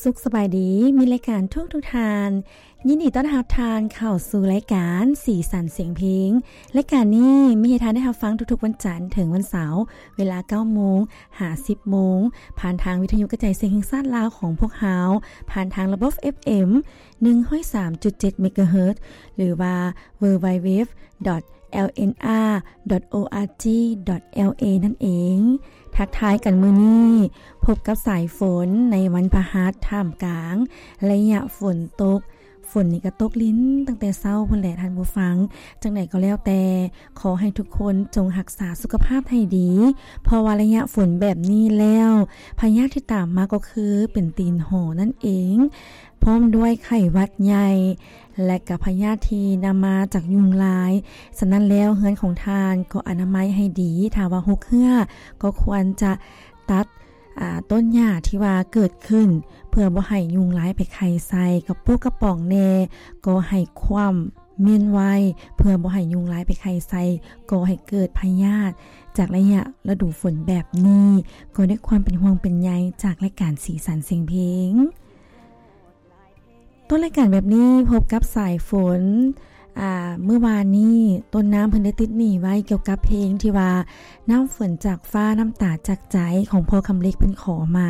ສຸກສະບາຍດີ ມິດລາຍການທຸກໆທ່ານ, ຍິນດີຕ້ອນຮັບທ່ານເຂົ້າສູ່ລາຍການສີສັນສຽງເພງ. ລາຍການນີ້ມີໃຫ້ທ່ານໄດ້ຮັບຟັງທຸກໆວັນຈັນເຖິງວັນເສົາ ເວລາເກົ້າໂມງຫາສິບໂມງ ຜ່ານທາງວິທະຍຸກະຈາຍສຽງແຫ່ງຊາດລາວຂອງພວກເຮົາ, ຜ່ານທາງລະບົບເອັຟເອັມ ໜຶ່ງຮ້ອຍສາມຈຸດເຈັດເມກາເຮີດ ຫຼື www.lnr.org.la ນັ້ນເອງ. ທັກທາຍກັນມື້ນີ້ ພົບກັບສາຍຝົນໃນວັນພະຫັດ ທ່າມກາງໄລຍະຝົນຕົກ. ຝົນນີ້ກໍຕົກລິນຕັ້ງແຕ່ເຊົ້າພຸ້ນແຫຼະທ່ານຜູ້ຟັງ. ຈັ່ງໃດກໍແລ້ວແຕ່ ຂໍໃຫ້ທຸກຄົນຈົ່ງຮັກສາສຸຂະພາບໃຫ້ດີ ເພາະວ່າໄລຍະຝົນແບບນີ້ແລ້ວ ພະຍາດທີ່ຕາມມາກໍຄືເປັນຕີນຫໍນັ້ນເອງ ພ້ອມດ້ວຍໄຂ້ຫວັດໃຫຍ່ ແລະ ກະພະຍາດທີ່ນຳມາຈາກຍຸງລາຍ. ສະນັ້ນແລ້ວ ເຮືອນຂອງທ່ານກໍອະນາໄມໃຫ້ດີ, ຖ້າວ່າຮົກເຮື້ອກໍຄວນຈະຕັດ ອາ ຕົ້ນຫຍ້າທີ່ວ່າເກີດຂຶ້ນ ເພື່ອບໍ່ໃຫ້ຍຸງລາຍໄປໄຂ່ໃສ່. ກະປຸກກະປ໋ອງແດ່ກໍໃຫ້ຂວ້ຳມ້ຽນໄວ້ ເພື່ອບໍ່ໃຫ້ຍຸງລາຍໄປໄຂ່ໃສ່, ກໍໃຫ້ເກີດພະຍາດຈາກໄລຍະລະດູຝົນແບບນີ້. ກໍດ້ວຍຄວາມເປັນຫ່ວງເປັນໃຍຈາກລາຍການສີສັນສຽງເພງ. ຕົ້ນລາຍການແບບນີ້ ພົບກັບສາຍຝົນ ອາ ມື້ວານນີ້ ຕົ້ນນ້ຳເພິ່ນໄດ້ຕິດໜີ້ໄວ້ກ່ຽວກັບເພງທີ່ວ່າ ນ້ຳຝົນຈາກຟ້າ ນ້ຳຕາຈາກໃຈ ຂອງພໍ່ຄຳເລັກເພິ່ນຂໍມາ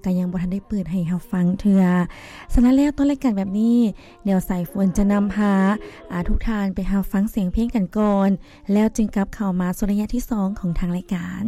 ກະຍັງບໍ່ທັນໄດ້ເປີດໃຫ້ເຮົາຟັງເທື່ອ. ສະນັ້ນແລ້ວ ຕົ້ນລາຍການແບບນີ້ ດຽວສາຍຝົນຈະນຳພາ ອາ ທຸກທ່ານໄປຮັບຟັງສຽງເພງກັນກ່ອນ ແລ້ວຈຶ່ງກັບເຂົ້າມາສູ່ໄລຍະທີສອງຂອງທາງລາຍການ.